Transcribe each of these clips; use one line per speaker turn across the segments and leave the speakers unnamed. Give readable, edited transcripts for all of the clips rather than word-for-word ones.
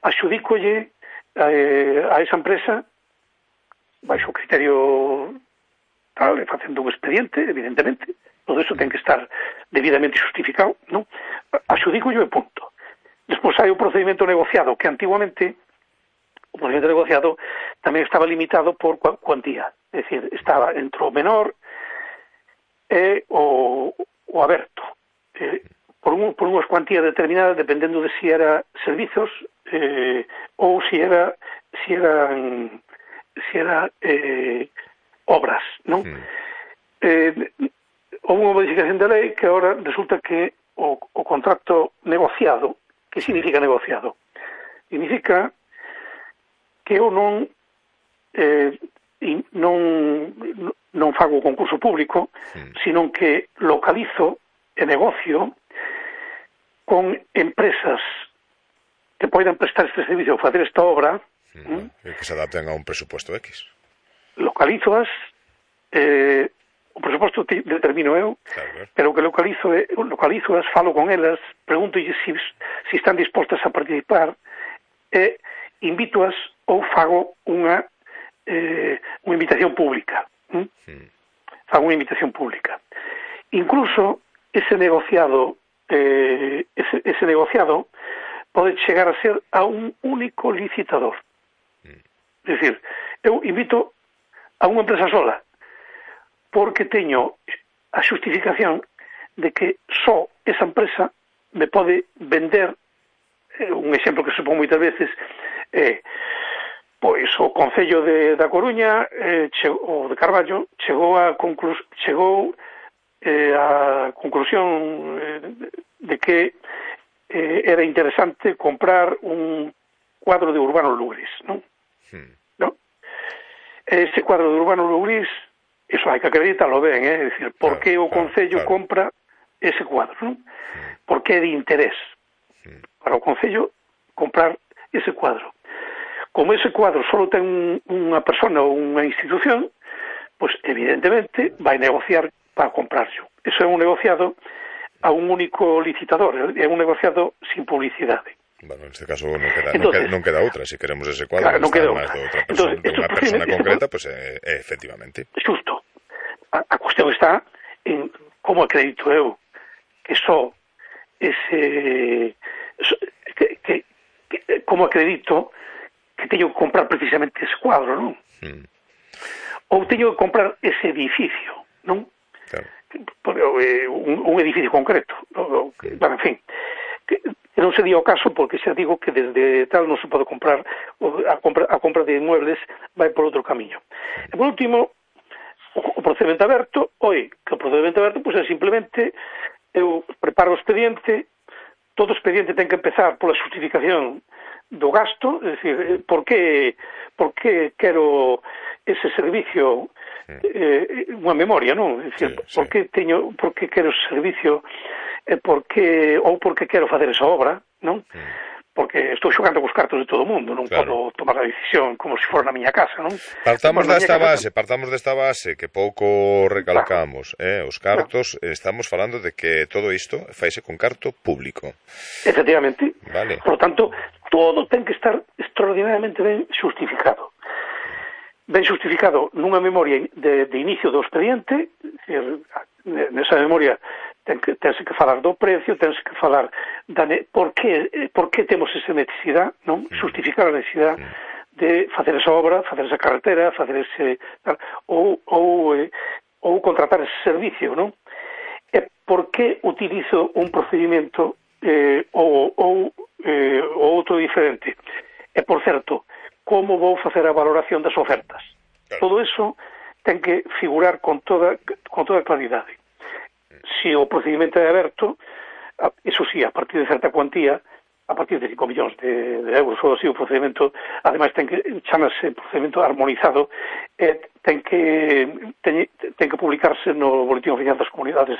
Axudícolle a esa empresa baixo o criterio tal, facendo un expediente, evidentemente, todo eso ten que estar debidamente justificado, non? Axudícolle e punto. Despois hai o procedimento negociado, que antiguamente o procedimento negociado tamén estaba limitado por cuantía, é dicir, estaba entre o menor e o aberto, por unhas cuantías determinadas, dependendo de si era servizos ou si era obras, non? Houve unha modificación da lei que agora resulta que o contrato negociado, que significa negociado? Significa que eu non fago o concurso público, sino que localizo e negocio con empresas que poidan prestar este servicio ou facer esta obra,
que se adapten a un presupuesto X.
Localizoas, o presuposto determino eu, claro. Pero o que localizoas, falo con elas, preguntolle se están dispostas a participar e invitoas ou fago unha invitación pública. Fago unha invitación pública. Incluso ese negociado pode chegar a ser a un único licitador. É dicir, eu invito a unha empresa sola porque teño a justificación de que só esa empresa me pode vender. Un exemplo que supón moitas veces pois o Concello da Coruña ou de Carballo chegou a conclusión de que era interesante comprar un cuadro de Urbano Lugris, non? Ese cuadro de Urbano Lugris, eso hai que acreditarlo ben, é dicir, por que o Concello compra ese cuadro, non? Por que é de interés para o Concello comprar ese cuadro. Como ese cuadro só ten unha persona ou unha institución, pois evidentemente vai negociar para comprarlo. Eso é un negociado a un único licitador, é un negociado sin publicidade.
Bueno, en este caso non queda outra, se queremos ese cuadro, claro, non queda outra. De unha persona concreta, pues efectivamente.
Xusto. A cuestión está en como acredito eu que só ese como acredito que teño que comprar precisamente ese cuadro, non? Ou teño que comprar ese edificio, non? Claro. Un edificio concreto. Bueno, en fin, non se di o caso porque xa digo que desde tal non se pode comprar, a compra de inmuebles vai por outro camiño. E por último, o procedimento aberto, que o procedimento aberto pois é simplemente eu preparo o expediente, todo o expediente ten que empezar pola justificación do gasto, é dicir, por que quero ese servicio, unha memoria, non? É dicir, por que quero ese servicio, por que quero facer esa obra, non? Porque estou xogando cos cartos de todo o mundo, non podo tomar a decisión como se fora na miña casa, non?
Partamos desta base que pouco recalcamos, os cartos, estamos falando de que todo isto faise con carto público.
Efectivamente.
Vale.
Por lo tanto, todo ten que estar extraordinariamente ben justificado. Ben justificado nunha memoria de inicio do expediente, nesa memoria tense que falar do precio, tense que falar por que temos esa necesidade, non? Justificar a necesidade de facer esa obra, facer esa carretera, facer ese ou contratar ese servicio, non? E por que utilizo un procedimento ou outro diferente? E, por certo, como vou facer a valoración das ofertas? Todo eso ten que figurar con toda claridade. Se o procedimento é aberto, eso sí, a partir de certa cuantía, a partir de 5 millóns de euros ou así, o procedimento, ademais, chamase procedimento armonizado, ten que publicarse no Boletín Oficial da Comunidade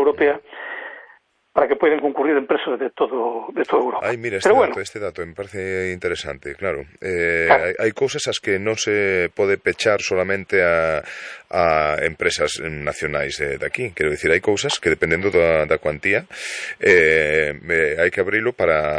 Europea para que poidan concurrir empresas de toda Europa.
Ai, mira, este dato me parece interesante, claro. Hai cousas as que non se pode pechar solamente a empresas nacionais de aquí. Quero dicir, hai cousas que dependendo da cuantía hai que abrilo para